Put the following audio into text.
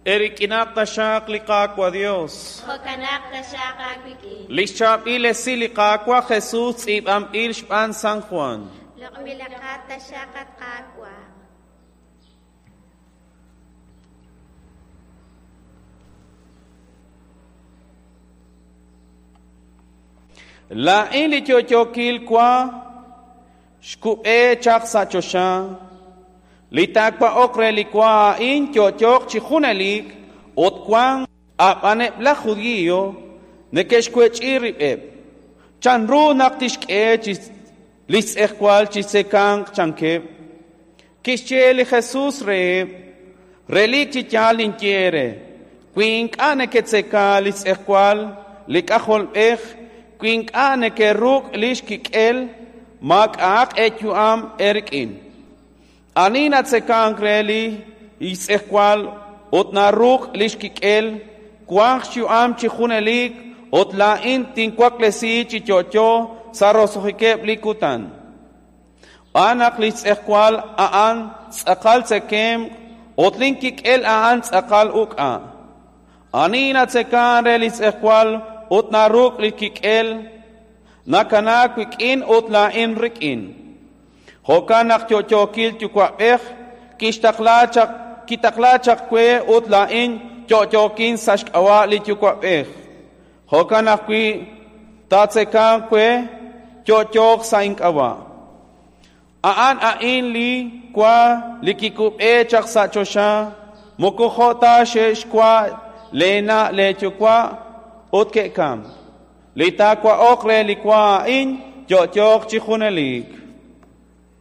Erik'inaq taxaq li Qaawa' Dios. Jo'kanaq taxaq aawik'in. Li xchaab'il esil li Qaawa' Jesus tz'iib'anb'il xb'aan San Juan. Loq'b'ilaqat taxaq at Qaawa'. Laa'in li yo'yookil wa xkub'e chaq sa' choxa. Li taawa'oq re li wa a'in yo'yooq chi junelik ut wank a'b'aneb' laj judío neke'xwech'i rib'eb'. Chanru naq tixk'e chi li xtz'ejwal chi tzekanq chankeb'? Kixye li Jesus reheb': Relik chi yaal ninye eere, wi ink'a' neketzeka li xtz'ejwal li K'ajolb'ej, wi ink'a' nekeruk' li xkik'el, maak'a'aq eeyu'am eerik'in. Ani natzekank re li xtz'ejwal ut naruk' li xkik'el, wanq xyu'am chi junelik ut laa'in tinwaklesi chi yo'yo sa' roso'jikeb' li kutan. Xb'aan naq li xtz'ejwal a'an tz'aqal tzekemq ut linkik'el a'an tz'aqal uk'a'. Ani natzekank re li xtz'ejwal ut naruk' li kik'el, nakanaak wik'in ut laa'in rik'in. Jo'kan naq yo'yookil yuwa'b'ej kixtaqla chaq kitaqla chaq we ut laa'in yo'yookin sa' xk'ab'a' li yuwa'b'ej. Jo'kan ajwi' taatzekanq we yo'yooq sa' ink'ab'a'. A'an a'in li wa li kikub'e chaq sa' choxa, moko jo' ta xe'xwa' leena' leeyuwa' ut ke'kamk. Li taawa'oq re li wa a'in yo'yooq chi junelik.